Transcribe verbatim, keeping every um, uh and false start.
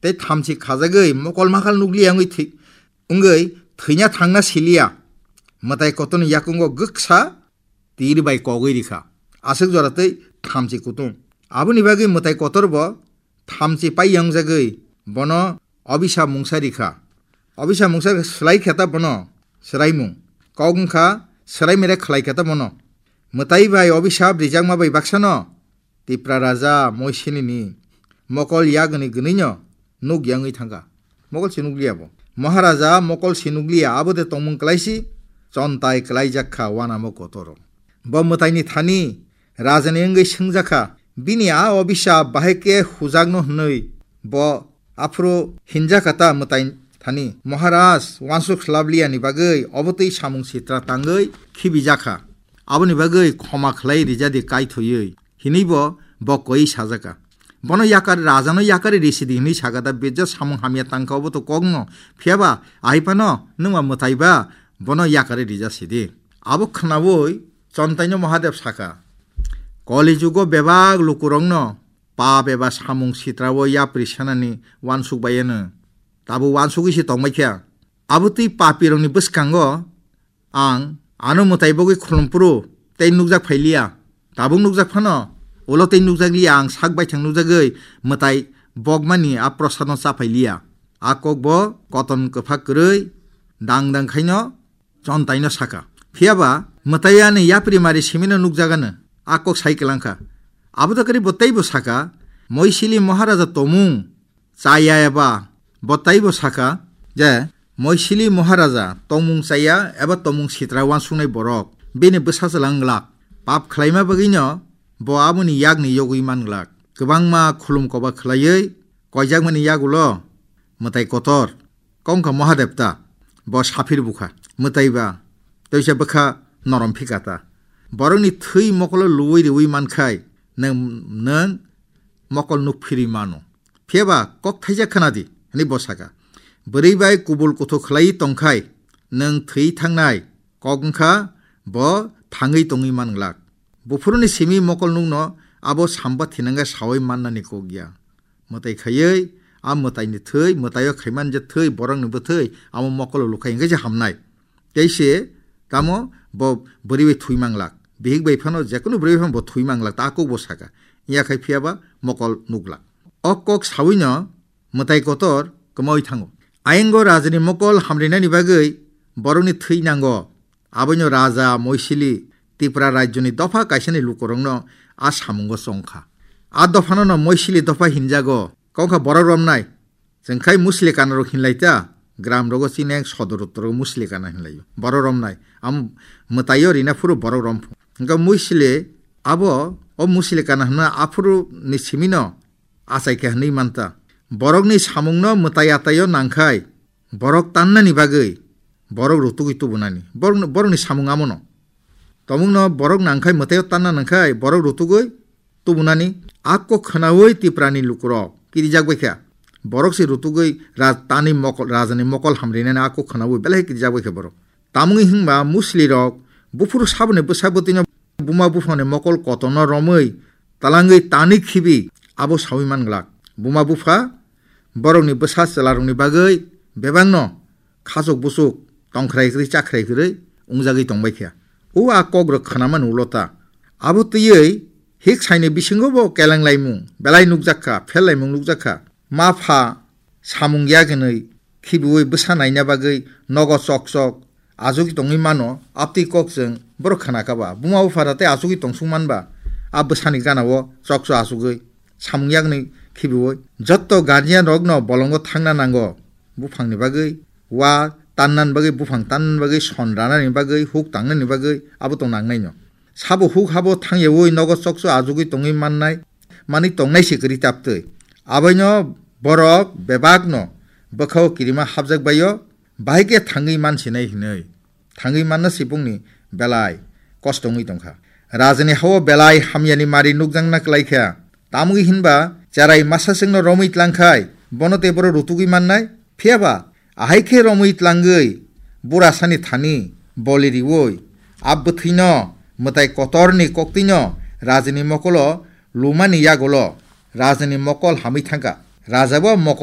tei thamchi khajagwi mokol makal nukliya wngwi thwi-, wngwi thwina thangna siliya. Mwtai kotorni yakungo gwksa tir bai kogwi rikha. Aswk jora tei thamchi kutung. Aboni bagwi mwtai kotor bo thamchi pai yangjagwi bono obisa mungsa rikha. Obisa mungsa swlai khe ta bono swraimung. Kok wngkha swraimere khlai khe ta bono. Mwtai bai obisa rijakma bai baksano Tipra raja Moisilini mokol yagni gwnwino nuk yangwi thangkha. Mokol se nukliya bo. Maharaja mokol se nukliya, abo de tongmung kwlaisi chontai kwlaijak kha wanamo kotoro. Bo mwtaini thani rajani wngwi swngjakha, bini a obisa bahai khe hujakno hwnwi bo aphuru hinjakha ta mwtai thani. Maharaj, wansuk swlabliyani bagwi obotwi samung sitra tangwi khibijakha. Aboni bagwi khoma khlai rijadi kaithwiwi. Hinwi bo, bo koi sajaka. Bono yakar, rajano yakari risidi hinwi saka da, bejo samung hamya tangka obo to kokno. Phiyaba, aipano, nwngma mwtaiba, bono yakari rija sidi. Abo khnawi, Chontaino Mahadev saka. Koli jugo bebak lukurokno, pap eba samung sitrao yapri sanani wansuk bayano. Tabo wansugwi se tongbai kha. Abo twi papirokni bwskango, Ang ano mwtai bogwi khulumphuru tei nukjak phailiya. Tabuk nukjak phano, ulo tei nukjakliya, ang sak baithang nukjagwi mwtai bokmani a prosadno cha phailiya. A kok bo koton kwphak kwrwi dang dang khaino Chontaino saka. Phiyaba mwtai ani yapri mari simino nukjagano a kok sai kwlangkha. Abo da kwrwi bo teibo saka, Moisili Maharaja tomung chaya eba bo taibo saka je, Moisili Maharaja tongmung chaya eba tongmung sitra wansuknai borok bini bwsa chwla wng glak. Pap khlaima bagwino bo aboni yakni yogwi man glak. Kwbangma khulum koba khlaiwi koijakmani yagulo mwtai kotor kongkha Mahadevta bo saphir bukha. Mwtaiba toisa bwkha norom phikata. Borokni thwi mokolo luwi riwi mankhai nwng, nwng mokol nuk phirwi mano. Phiyaba kok thaijak khna di, hwnwi bo saka. Bwrwi bai kubul kuthuk khlaiwi tongkhai, nwng thwi thangnai kok wngkha, bo thangwi tongwi man glak. Buphuruni simi mokol nukno abo samba thinangkhe sawi mannani kok ya. Mwtai khaiwi, a mwtaini thwi, mwtaio khaiman je thwi, borokni bwthwi, amo mokolo lukhai hwnkhe se hamnai. Tei se tamo bo bwrwi bai thwi manglak. Bihik bai phano, jekunu bwrwi bai phano bo thwi manglak, ta kok bo saka. Iya khai phiyaba mokol nuglak. O kok sawino mwtai kotor kwmawi thango. Ayingo rajani mokol hamrinani bagwi borokni thwi nango. Aboino raja Moisili Tipra rajyoni dopha kaisani lukurokno a samungo chongkha. A dophano no Moisili dopha hinjago. Kongkha borok romnai. Chwng khai Muslikana rok hinlai ta, gram rogo chini ek sodor uttor rogo Muslikana hinlai o. Borok romnai. Am mwtaio rina phuru borok rom phu. Hingkha Muisli abo o Muslikana hwnma aphuru ni simino achai khe hwnwi manta. Borokni samungno mwtai ataio nangkhai, borok tannani bagwi borok rutugwi tubunani. Borokni, borokni samung amono. Tomungno borok nangkhai, mwtaio tanna nangkhai, borok rutugwi tubunani. A kok khnaui Tiprani lukurok kirijak bai kha. Borok se rutugwi raj-, tani mokol, rajani mokol hamrinani a kok khnaui belai kirijak bai kha borok. Tamungwi hwnba Muslirok buphuru saboni bwsa bwtwino buma buphangni mokol kotorno romwi talangwi tani khibi abo saui man glak. Buma bupha borokni bwsa chwlarokni bagwi bebakno khachuk buchuk, tongkhrai kwrwi chakhrai kwrwi wngjagwi tongbai kha. O a kokrok khnamani ulo ta. Abo twiwi hik saini bisingo bo kelang laimung belai nukjak kha, phel laimung nukjak kha. Ma pha samung yagnwi khibiui bwsa naina bagwi nogo chok chok achugwi tongwi mano, aptwi kok chwng borok khna kha ba. Buma bupha da tei achugwi tongsuk man ba, a bwsani gana o chok chok achugwi samung yagnwi khibiui. Jotto guardian rokno bolongo thangna nango, buphangni bagwi, wa tannan bagwi, buphang tannan bagwi, son ranani bagwi, huk tangnani bagwi, abo tong nangnaino. Sabo huk habo thangyaui nogo chokcho achugwi tongwi mannai, manwi tongnai se kwrwi taptwi. Aboino borok bebakno bwkhao kirima hapjak baio, bahai khe thangwi mansinai hinwi. Thangwi manna se bongni belai kosto wngwi tongkha. Rajani hao belai hamyani mari nukjakna kwlai kha. Tamwi hinba cherai masa chwngno romwi tlangkhai, bono tei borok rutugwi mannai. Phiyaba ahai khe romwi tlangwi burasani thani boli riui, a bwthwino mwtai kotorni koktwino rajani mokolo lumani yagulo rajani mokol hamwi thangkha. Rajabo mokol